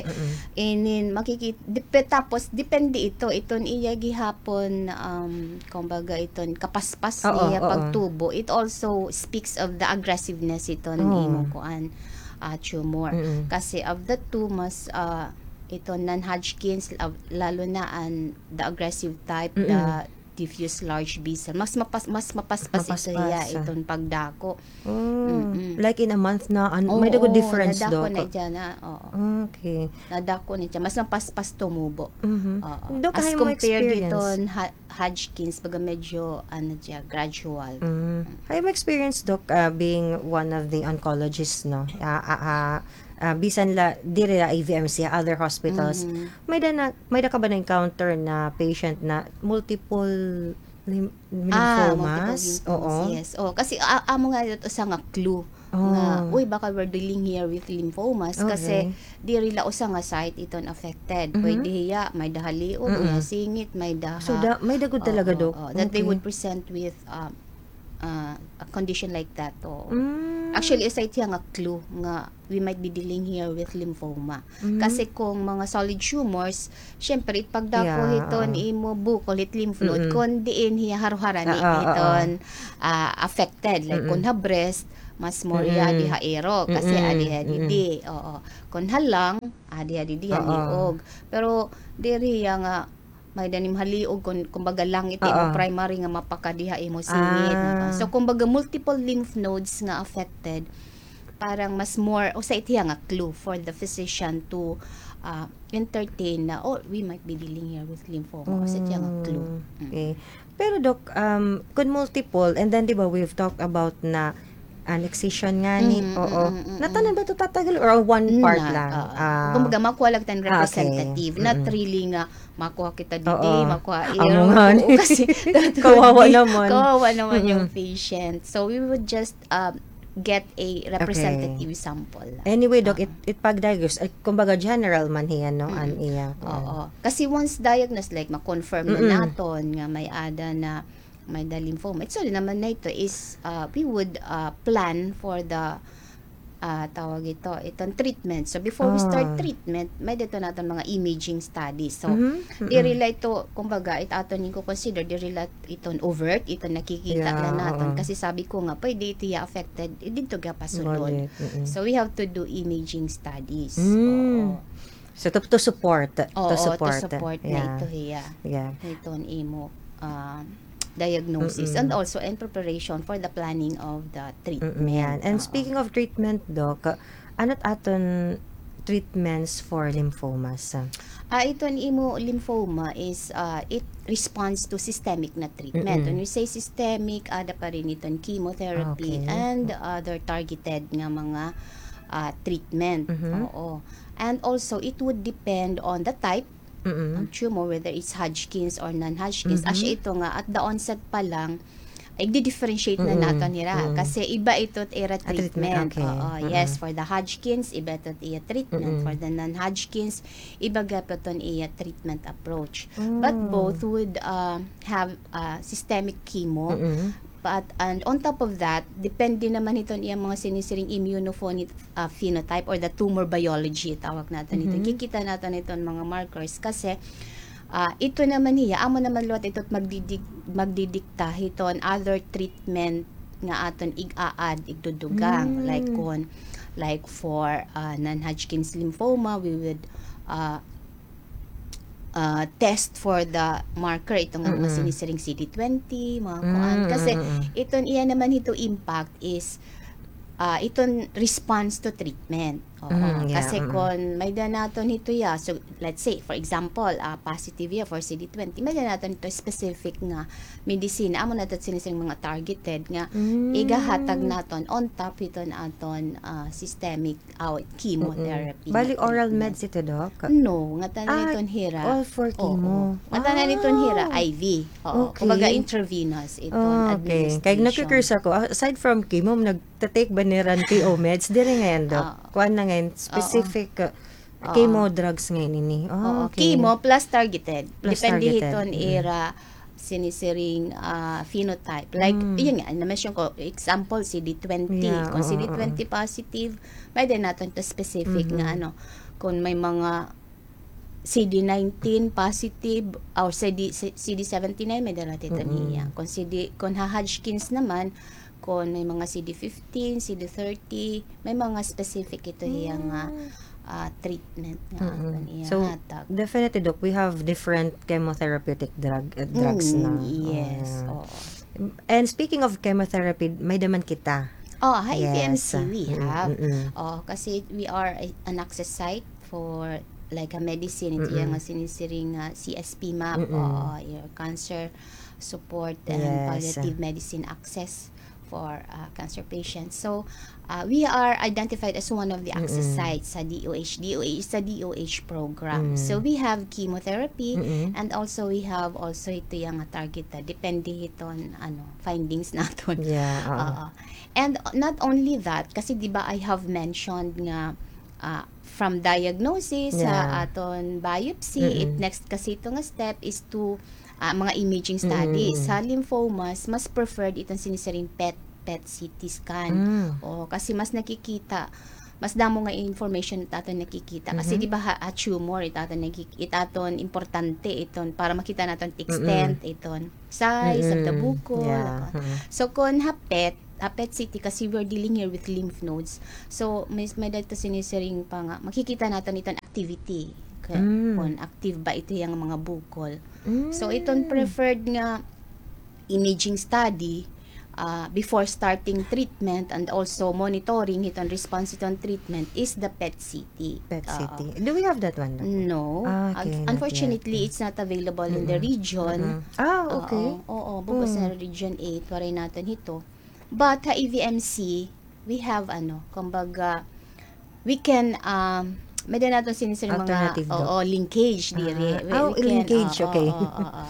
inin makikit-, depe-, tapos depende ito, iton iya gihapon, um, kumbaga iton kapaspas niya pagtubo. It also speaks of the aggressiveness iton imo kuan, ah, tumor. Kasi of the two, mas, ah, iton non-Hodgkin's, la-, lalo na an, the aggressive type, the diffuse large B cell. Mas mapas-, mas mapaspas ito hiya, iton pagdako. Oh, like in a month na, an-, may-ada gud difference, Doc? Oo, nadako na dyan na, oo. Okay. Nadako na dyan. Mas mapaspas tumubo. Oo. Doc, as compared iton ha-, Hodgkin's, baga medyo, ano dyan, gradual. Hay mo experience, Doc, ah, being one of the oncologists, no? Ah, ah, ah, ah, bisan la, diri la A V M C, other hospitals. May-ada na, may-ada ka ba na-encounter na patient na multiple lym-, lymphomas? Ah, multiple lymphomas, oo. Yes. Oh, kasi, ah, amo nga ito usa nga clue nga, uy, baka we're dealing here with lymphomas kasi diri la usa nga site iton affected. Pwede hiya, may-ada ha liog, may-ada ha singit, may-ada ha, so, da-, may-ada gud talaga, Doc. Oo, oo, that they would present with, um, ah, a condition like that, oo. Mm. Actually, usa it hiya nga clue nga we might be dealing here with lymphoma. Mhm. Kasi kung mga solid tumors, syempre, it pagdako hiton imo bukol, it lymph node, kon diin hiya haroharani hiton, ah, affected. Like, kon ha breast, mas more hiya adi ha iro, kasi adi ha didi. Oo. Kon ha lung, adi ha didi ha liog. Pero diri hiya nga may-ada nim ha liog, kun, kumbaga, lung it imo primary nga mapakadi ha imo singit. So, kumbaga, multiple lymph nodes nga affected, parang mas more, usa it hiya nga clue for the physician to, ah, entertain na, "Oh, we might be dealing here with lymphoma." Usa it hiya nga clue. Mm. Okay. Pero, Doc, um, kun multiple, and then, di ba, we've talked about na an excision ngani, oo. Natanan ba ito tatagal or one part lang? Kumbaga, makuha lang tan representative. Not really nga makuha kita didi, makuha iro. Kasi kawawa naman. Kawawa naman yung patient. So, we would just, um, get a representative sample lang. Anyway, Doc, it, it pag-diagnose, eh, kumbaga, general man hiya, no, an iya. Oo. Kasi once diagnosed, like, ma-confirm na naton nga may-ada na may-ada lymphoma. It's all naman na ito is, uh, we would, uh, plan for the, uh, tawag ito, iton treatment. So, before we start treatment, may-ada ito naton mga imaging studies. So, diri la ito, kumbaga, it aton iko-consider, diri la iton overt, iton nakikita la naton. Kasi sabi ko nga, pwede ito hiya affected, eh, didto gihap ha sulod. So, we have to do imaging studies. Oo. So, to, to support, to support na ito hiya. Iton imo, ah, diagnosis and also in preparation for the planning of the treatment. And speaking of treatment, Doc, ano it aton treatments for lymphomas? Ah, iton imo lymphoma is, ah, it responds to systemic na treatment. When we say systemic, ada pa rin iton chemotherapy and other targeted nga mga, ah, treatment. Oo. And also, it would depend on the type of tumor, whether it's Hodgkin's or non-Hodgkin's. Asya ito nga, at the onset pa lang, igdi-differentiate na naton hira. Kasi iba ito it ira treatment. Oo, yes, for the Hodgkin's, iba ito it iya treatment. For the non-Hodgkin's, iba gihap iton iya treatment approach. But both would, uh, have, uh, systemic chemo. But, and on top of that, depende naman hiton iya mga sinisiring immunophen-, ah, phenotype or the tumor biology, tawag naton ito. Kikita naton iton mga markers kasi, ah, ito naman hiya, amo naman liwat ito it magdidik-, magdidikta hiton other treatment nga aton ig-a-add, igdudugang. Like kon, like for, ah, non-Hodgkin's lymphoma, we would, ah, ah, test for the marker, ito nga mga sinisiring C D twenty, mga kuan. Kasi iton iya naman hito impact is, ah, iton response to treatment. Oo. Kasi kon may-ada naton hito hiya, so let's say, for example, ah, positive hiya for C D twenty, may-ada naton hito specific nga medisina, amo na ito sinisiring mga targeted nga igahatag naton on top hiton aton, ah, systemic aw, chemotherapy. Bali, oral meds ito, Doc? No, ngatanan iton hira. All for chemo. Ngatanan iton hira, I V. Oo, kumbaga intravenous iton administration. Kay nagku-curious ako, aside from chemo, nagta-take ba nira hin K O meds? Diri ngay-an, Doc. Kuan na ngay-an, specific, uh, chemo drugs ngay-an ini. Oo, chemo plus targeted. Depende hiton ira sinisiring, ah, phenotype. Like, yun nga, na-mention ko, example, C D twenty. Kon C D twenty positive, may-ada naton ito specific nga, ano, kon may mga C D nineteen positive, or C D, C D seventy-nine, may-ada naton ito niya. Kon C D, kon ha Hodgkin's naman, kon may mga C D fifteen, C D thirty, may mga specific ito hiya nga, ah, treatment nga aton iya hatag. So, definitely, Doc, we have different chemotherapeutic drug, uh, drugs na. Yes, oo. And speaking of chemotherapy, may-ada man kita. Oh, ha A P M C we have. Oo, kasi we are a, an access site for, like, a medicine, ito iya nga sinisiring nga C S P map, oo, your cancer support and palliative medicine access for, uh, cancer patients. So, uh, we are identified as one of the access sites sa D O H. D O H is a D O H program. So, we have chemotherapy and also we have also ito iya nga targeted. Depende hiton, ano, findings naton. Yeah, oo. Oo. And not only that, kasi di ba I have mentioned nga, ah, from diagnosis sa aton biopsy, it next kasi ito nga step is to, ah, mga imaging studies. Sa lymphomas, mas preferred iton sinisiring PET PET C T scan. Mm. O, kasi mas nakikita, mas damo nga information it aton nakikita. Kasi, mhm, di ba, ha, ha tumor, it aton nakik-, it aton importante iton para makita naton extent, mm-mm, iton size of the, mm-mm, bukol, yeah, ako. Mm-mm. So, kon ha PET, ha PET C T, kasi we're dealing here with lymph nodes. So, may, may-ada ito sinisiring pa nga, makikita naton iton activity. Ka-, mm, kon active ba ito yang mga bukol. So, iton, mm, preferred nga imaging study, ah, before starting treatment and also monitoring hiton response hiton treatment is the PET C T. PET C T. Oo. Do we have that one, Doc? No. Ah, okay, not yet. Unfortunately, it's not available in the region. Mm-mm. Ah, okay. Oo, oo, bug-os na Region eight, waray naton hito. But ha E V M C, we have, ano, kumbaga, we can, um, may-ada naton sinisiring mga, alternative, Doc, oo, linkage diri. Ah, we, oh, we can, linkage, oo, okay. Oo, oo.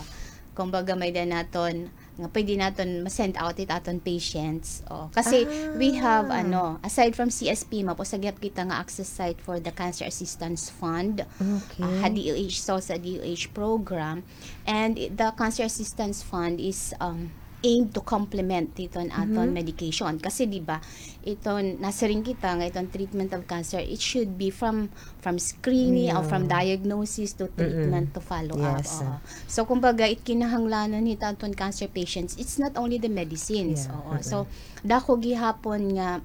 Kumbaga, may-ada naton nga pwede naton ma-send out it aton patients. Oh, kasi we have, ah, ano, aside from C S P, may-ada pa gihap kita nga access site for the Cancer Assistance Fund. Okay. Ah, ha D O H, so sa D O H program. And i-, the Cancer Assistance Fund is, um, aimed to complement iton aton, mhm, medication. Kasi, di ba, iton nasiring kita nga iton treatment of cancer, it should be from, from screening or from, yeah, diagnosis to treatment, mm-mm, to follow up. Yes. Oo. So, kumbaga, it kinahanglanon hit aton cancer patients, it's not only the medicines. Yeah. Oo. Mm-mm. So, dako gihapon nga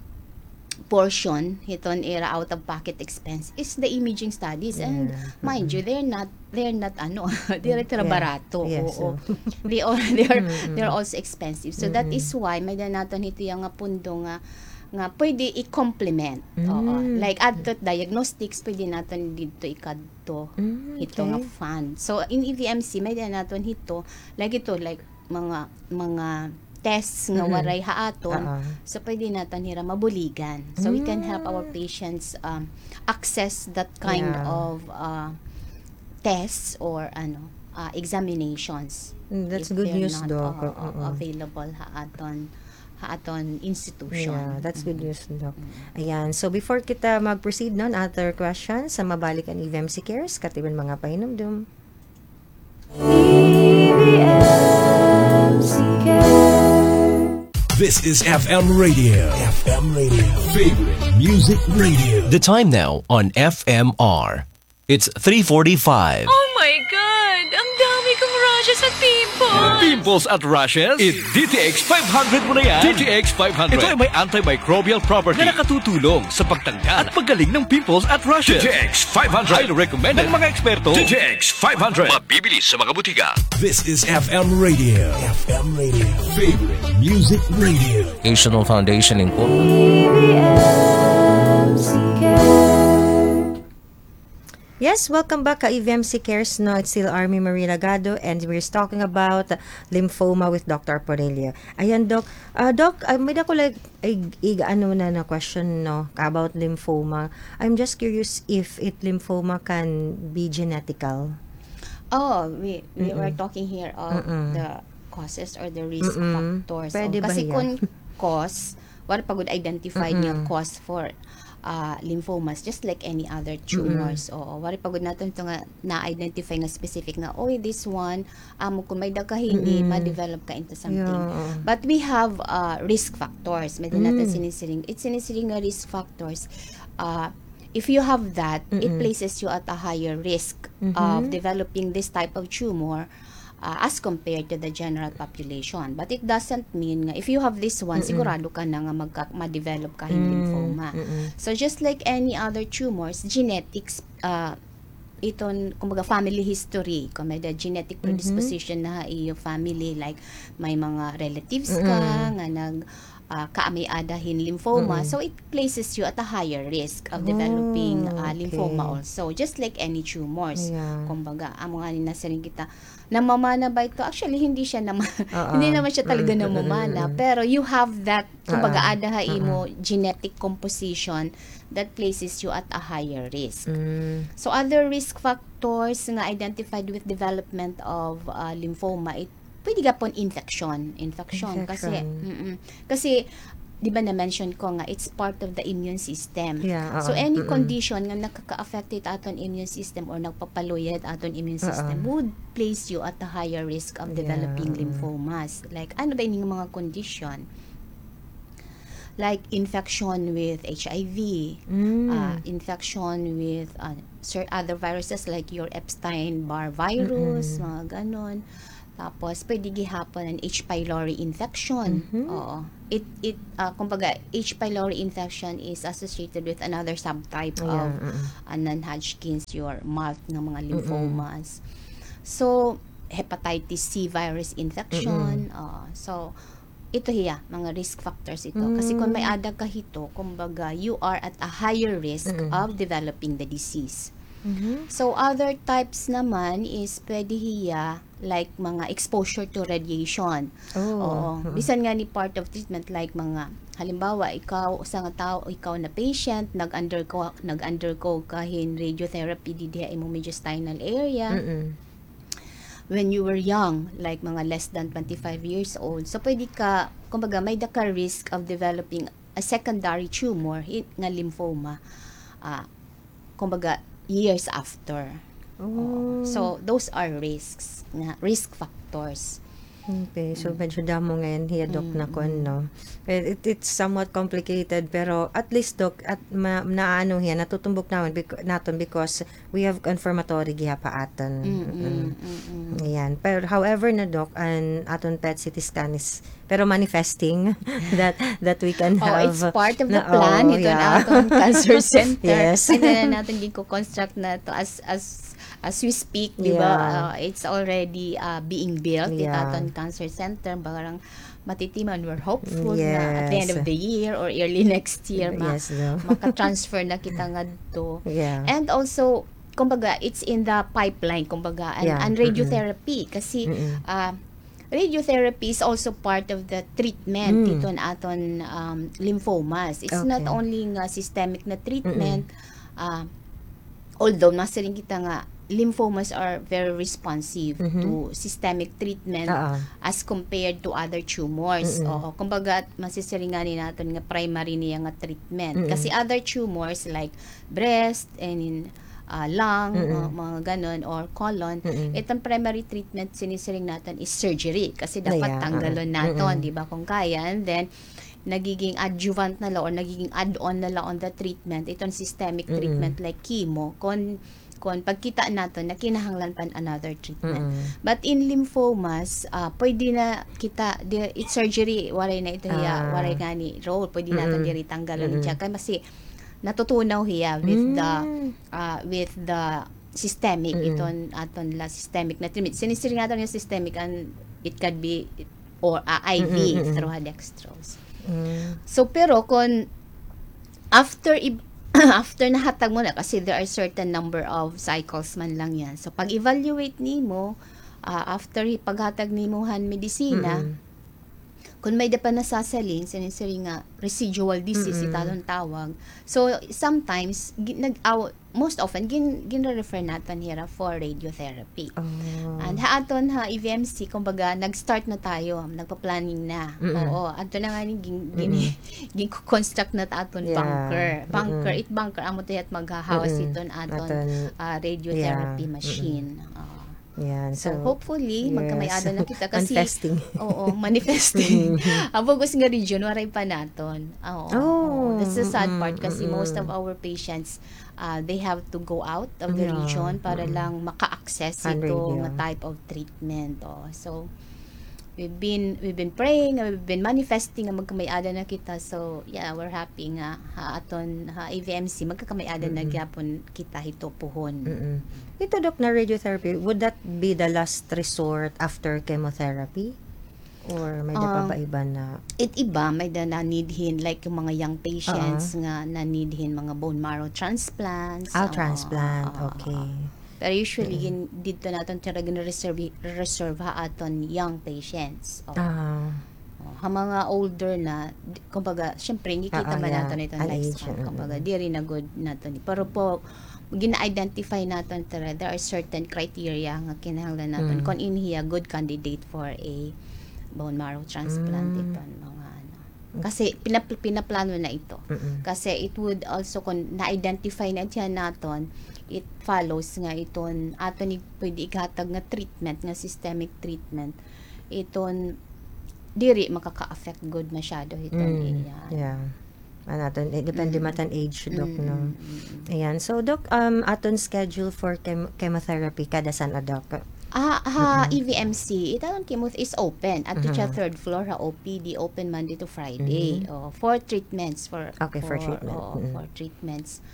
portion hiton ira out-of-pocket expense is the imaging studies. And, yeah, mind you, mm-mm, they're not, they're not, ano, diri hira barato. Yeah. Yes, oo. So, they are, they are, mm-mm, they're also expensive. So, that, mm-mm, is why may-ada naton hito yang nga pundo nga, nga pwede i-complement. Oo. Mm. Like, adto diagnostics, pwede naton didto ikadto, mm, hito nga, okay, fund. So, in E V M C, may-ada naton hito, like ito, like, mga, mga tests nga, mhm, waray ha aton. Oo. So, pwede naton hira mabuligan. So, we can help our, mm, patients, um, access that kind, yeah, of, uh, tests or, ano, uh, examinations. Mm, that's good news, Doc. If they're not, oo, oo, available ha aton, ha aton institution. Yeah, that's good news, Doc. Mm. Ayan. So, before kita mag-proceed, no, other questions, sa mabalik an E V M C Cares, katiman mga pahinumdom. E V M C Cares. This is F M Radio. F M Radio. Favorite Music Radio. The time now on F M R. It's three forty-five. Oh my God! Ang dami kong rashes at pimples! Pimples at rashes? I-D T X five hundred mo na yan. D T X five hundred. Ito ay may antimicrobial property na nakatutulong sa pagtanggal at paggaling ng pimples at rashes. D T X five hundred. Highly recommended ng mga eksperto. D T X five hundred. Mabibili sa mga butika. This is F M Radio. F M Radio. Favorite Music Radio. National Foundation Incorporated. Yes, welcome back ha E V M C Cares, no? It's still Army Marie Lagado, and we're talking about lymphoma with Doctor Aponilio. Ayan, Doc. Ah, Doc, ah, may-ada ko, like, ig-, ig-, ano na, na question, no, about lymphoma. I'm just curious if it lymphoma can be genetical. Oh, we, we were talking here of the causes or the risk factors. Pwede ba hiya? Kasi kun cause, waray pa gud identified nga cause for, ah, lymphomas, just like any other tumors. Oo, waray pa gud naton ito nga na-identify nga specific nga, "Oy, this one, amo kun may-ada ka hini, ma-develop ka into something." Yeah. But we have, ah, risk factors. May-ada naton sinisiring. It sinisiring nga risk factors. Ah, if you have that, it places you at a higher risk of developing this type of tumor, ah, as compared to the general population. But it doesn't mean nga if you have this one, sigurado ka na nga magka-, ma-develop ka hin lymphoma. So just like any other tumors, genetics, ah, iton, kumbaga, family history, kon may-ada genetic predisposition na ha iyo family, like may mga relatives ka nga nag-, ah, kaamay-ada hin lymphoma, so it places you at a higher risk of developing, ah, lymphoma also, just like any tumors. Kumbaga, amo ngani nasiring kita, namamana ba ito? Actually, hindi siya nama-, hindi naman siya talaga namamana, pero you have that, kumbaga, ada ha imo genetic composition that places you at a higher risk. So, other risk factors nga identified with development of, ah, lymphoma, it pwede gihapon infection. Infection. Kasi, mm-mm. Kasi, di ba na-mention ko nga, it's part of the immune system. So, any condition nga nakaka-affect it aton immune system or nagpapaluya it aton immune system would place you at a higher risk of developing lymphomas. Like, ano ba ining mga condition? like infection with H I V, ah, infection with, ah, cer-, other viruses like your Epstein-Barr virus, mga ganon. Tapos, pwede gihapon an H. pylori infection. Oo. It, it, ah, kumbaga, H. pylori infection is associated with another subtype of, ah, non-Hodgkin's, your mild nga mga lymphomas. So, hepatitis C virus infection. Oo. So, ito hiya, mga risk factors ito. Kasi kung may-ada ka hito, kumbaga, you are at a higher risk of developing the disease. So, other types naman is pwede hiya, like, mga exposure to radiation. Oo. Bisan ngani part of treatment, like, mga, halimbawa, ikaw, usa nga tawo, ikaw na patient, nag-undergo, nag-undergo ka hin radiotherapy didi ha imong mediastinal area. When you were young, like mga less than twenty-five years old. So, pwede ka, kumbaga, may-ada ka risk of developing a secondary tumor, hi-, nga lymphoma. Ah, kumbaga, years after. Oo. So, those are risks, nga, risk factors. Okay, so medyo damo ngayon hiya, Doc, na kuan, no? It, it, it's somewhat complicated, pero at least, Doc, at ma-, naano hiya, natutumbok naman bec-, naton because we have confirmatory gihap ha aton. Ayan. Pero however na, Doc, an aton PET C T scan is, pero manifesting that, that we can have. Oh, it's part of the plan hiton aton cancer center. Yes. Kay na naton gin-construct na to as, as, as we speak, di ba? Uh, it's already, uh, being built, it aton cancer center. Parang matitiman, we're hopeful na at the end of the year or early next year, ma-, maka-transfer na kita ngadto. And also, kumbaga, it's in the pipeline, kumbaga, an, an radiotherapy. Kasi, ah, radiotherapy is also part of the treatment hiton aton, um, lymphomas. It's not only nga systemic na treatment, ah, although masiring kita nga lymphomas are very responsive to systemic treatment as compared to other tumors. Oo, kumbaga, masisiring ngani naton nga primary niya nga treatment. Kasi other tumors like breast, and in, ah, lung, ah, mga ganon, or colon, itong primary treatment, sinisiring naton is surgery. Kasi dapat tanggalon naton, di ba, kung kaya. And then, nagiging adjuvant na la or nagiging add-on na la on the treatment, itong systemic treatment like chemo, kon, kon pagkita naton na kinahanglan pa another treatment. But in lymphomas, ah, pwede na kita, di, it surgery, waray na ito hiya, waray ngani role, pwede naton diri tanggalon siya. Kay masi-, natutunaw hiya with the, ah, with the systemic, iton aton la systemic na treatment. Sinisiring naton nga systemic, and it could be or, ah, I V through ha dextrose. So, pero kon after i-, after nahatag mo na, kasi there are certain number of cycles man lang yan. So, pag-evaluate nimo, ah, after paghatag nimo han medisina, kon may-ada pa nasasaling, sinisiring nga residual disease, it aton tawag. So, sometimes, gi-, nag-, aw-, most often, gin-, ginre-refer naton hira for radiotherapy. And ha aton ha E V M C, kumbaga, nag-start na tayo, nagpa-planning na. Oo, adto na ngani, gin-, gin-, gin-construct na ta aton bunker. Bunker, it bunker, amo to it maghahawas iton aton, ah, radiotherapy machine. Oo. Yan. So, so, hopefully, yes, magkamay-ada na kita kasi, manifesting. Oo, manifesting. An bug-os nga region, waray pa naton. Oo, oo. That's the sad part kasi most of our patients, ah, they have to go out of the region para lang maka-access hito nga type of treatment. Oh. So, we've been, we've been praying, we've been manifesting nga magkamay-ada na kita. So, yeah, we're happy nga ha aton, ha E V M C, magkakamay-ada na gyapon kita hito puhon. Ito, Doc, na radiotherapy, would that be the last resort after chemotherapy? Or may-ada pa ba iba na? It iba, may-ada na-need hin, like, yung mga young patients nga na-need hin mga bone marrow transplants. Ah, transplant, okay. Pero usually, gin-, didto naton tira gin-reserve, reserve ha aton young patients. Oo. Ah. Oh, ha mga older na, di, kumbaga, syempre, ngikita man naton ito next month. Kumbaga, diri na gud naton. Pero po, gina-identify naton tira, there are certain criteria nga kinahanglan naton kon ini hiya good candidate for a bone marrow transplant, iton mga ano. Kasi pinap-, pinaplano na ito. Kasi it would also, kon na-identify na siya naton, it follows nga iton aton i-, pwede ighatag nga treatment, nga systemic treatment. Iton diri makaka-affect gud masyado hiton iya. Yeah. An aton, eh, depende man han age, Doc, no? Ayan. So, Doc, um, aton schedule for chem-, chemotherapy, kada san-o, Doc? Ah, ha E V M C, it aton chemo is open. Adto siya third floor, ha O P D, open Monday to Friday. Oh, for treatments, for, okay, for treatment. Oo, for treatments.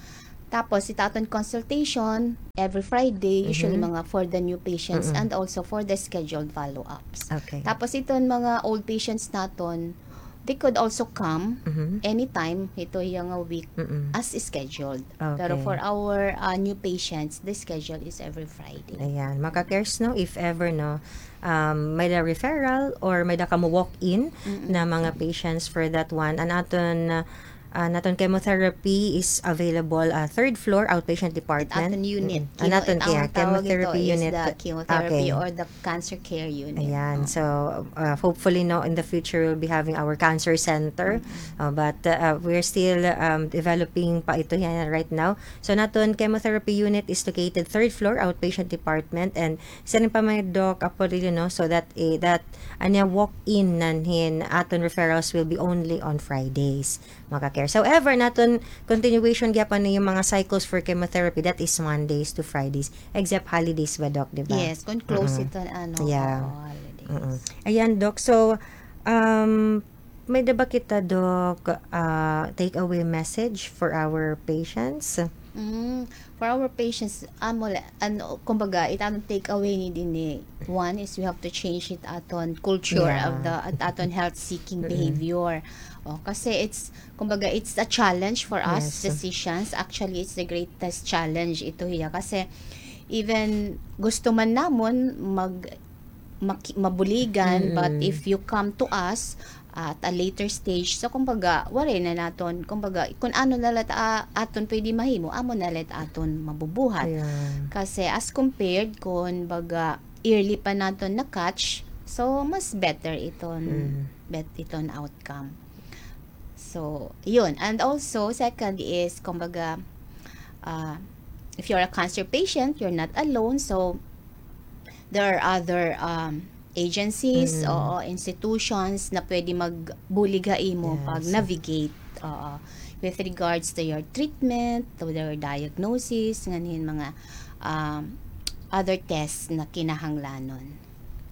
Tapos, it aton consultation, every Friday, usually mga for the new patients and also for the scheduled follow-ups. Okay. Tapos, iton mga old patients naton, they could also come anytime hito iya nga week as scheduled. Pero for our, ah, new patients, the schedule is every Friday. Ayan, mga ka-cares, no, if ever, no, um, may-ada referral or may-ada kamo walk-in na mga patients for that one. An aton, ah, an aton chemotherapy is available, ah, third floor outpatient department. It aton unit. An aton, yeah, chemotherapy unit. The chemotherapy or the cancer care unit. Ayan. So, uh, hopefully, no, in the future, we'll be having our cancer center. Uh, but, uh, we're still, um, developing pa ito yan right now. So, an aton chemotherapy unit is located third floor, outpatient department. And siring pa man ni Doc Aporillo, no, so that, eh, that, ania, walk-in nanhin aton referrals will be only on Fridays. Mga ka-cares. However, an aton continuation gihapon nga mga cycles for chemotherapy, that is Mondays to Fridays. Except holidays ba, Doc, di ba? Yes, kon close iton, ano, oo, holidays. Ayan, Doc. So, um, may-ada ba kita, Doc, ah, take away message for our patients? Mm, for our patients, amo la, ano, kumbaga, it aton take away ni dinhi, one is we have to change it aton culture of the, it aton health-seeking behavior. Oh, kasi it's, kumbaga, it's a challenge for us physicians. Actually, it's the greatest challenge ito hiya. Kasi even gusto man namon mag-, maki-, mabuligan, but if you come to us at a later stage, so kumbaga, waray na naton, kumbaga, kun ano na la it, ah, aton pwede mahimo, amo na la it aton mabubuhat. Kasi as compared, kun baga, early pa naton na-catch, so mas better iton, bet-, iton outcome. So, yun. And also, second is, kumbaga, ah, if you're a cancer patient, you're not alone. So, there are other, um, agencies, oo, institutions na pwede magbulig ha imo pag-navigate, oo, with regards to your treatment, to your diagnosis, nganhin mga, um, other tests na kinahanglanon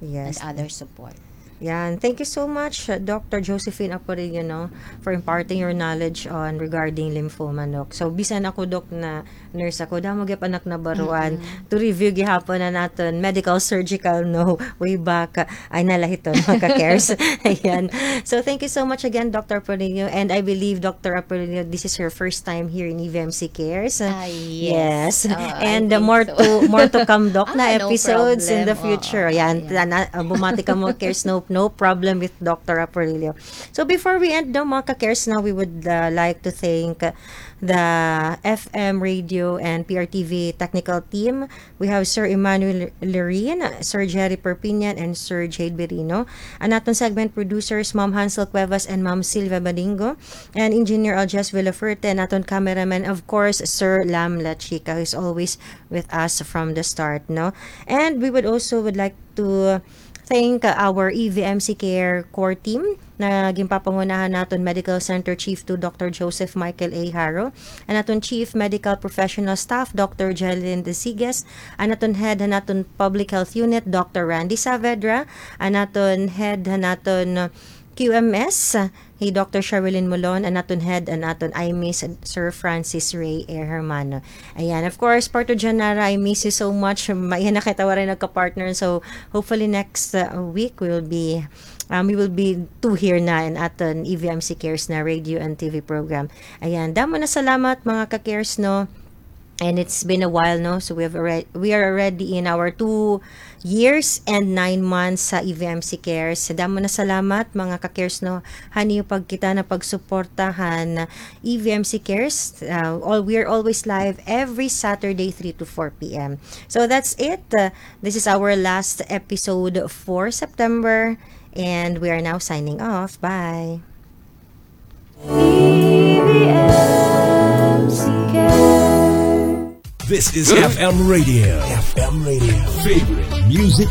and other support. Yan. Thank you so much, uh, Doctor Josephine Aporillo, no, for imparting your knowledge on regarding lymphoma, Doc. So, bisan ako, Doc, na nurse ako, damo gihap an ak nabaruan to review gihapon an aton medical surgical, no, way back, uh, ay nalahiton, mga ka-cares. Ayan. So, thank you so much again, Doctor Aporillo. And I believe, Doctor Aporillo, this is your first time here in E V M C Cares. Ah, yes. And, uh, more to, more to come, Doc, na episodes in the future. Ayan, tana-, uh, bumati kamo, cares, no, no problem with Doctor Aporillo. So before we end, no, mga ka-cares, no, we would, uh, like to thank, uh, the F M radio and P R T V technical team. We have Sir Emmanuel Lerin, Sir Jerry Perpignan, and Sir Jade Berino. An aton segment producers, Ma'am Hansel Cuevas and Ma'am Silvia Badingo. And Engineer Aljes Villaferte, an aton cameraman, of course, Sir Lam La Chica, who is always with us from the start, no? And we would also would like to thank, uh, our E V M C Care core team na ginpapangunahan naton Medical Center Chief two, Doctor Joseph Michael A. Haro, an aton Chief Medical Professional Staff, Doctor Jelyn Desiges, an aton Head han aton Public Health Unit, Doctor Randy Saavedra, an aton Head han aton Q M S, hi Doctor Sherilyn Molon, an aton head, an aton I M I S, Sir Francis Ray A. Hermano. Ayan, of course, Parto Janara, I miss you so much. Maiha na kita waray nagka-partner. So, hopefully next, uh, week, we will be, um, we will be two here na in aton E V M C Cares na radio and T V program. Ayan, damo na salamat, mga ka-cares, no? And it's been a while, no? So we have already, we are already in our two years and nine months sa E V M C Cares. Damo na salamat, mga ka-cares, no? Han iyo pagkita na pagsuporta han E V M C Cares. Uh, all, we are always live every Saturday, three to four P M. So that's it. Uh, this is our last episode for September. And we are now signing off. Bye. This is F M Radio. F M Radio. Favorite music.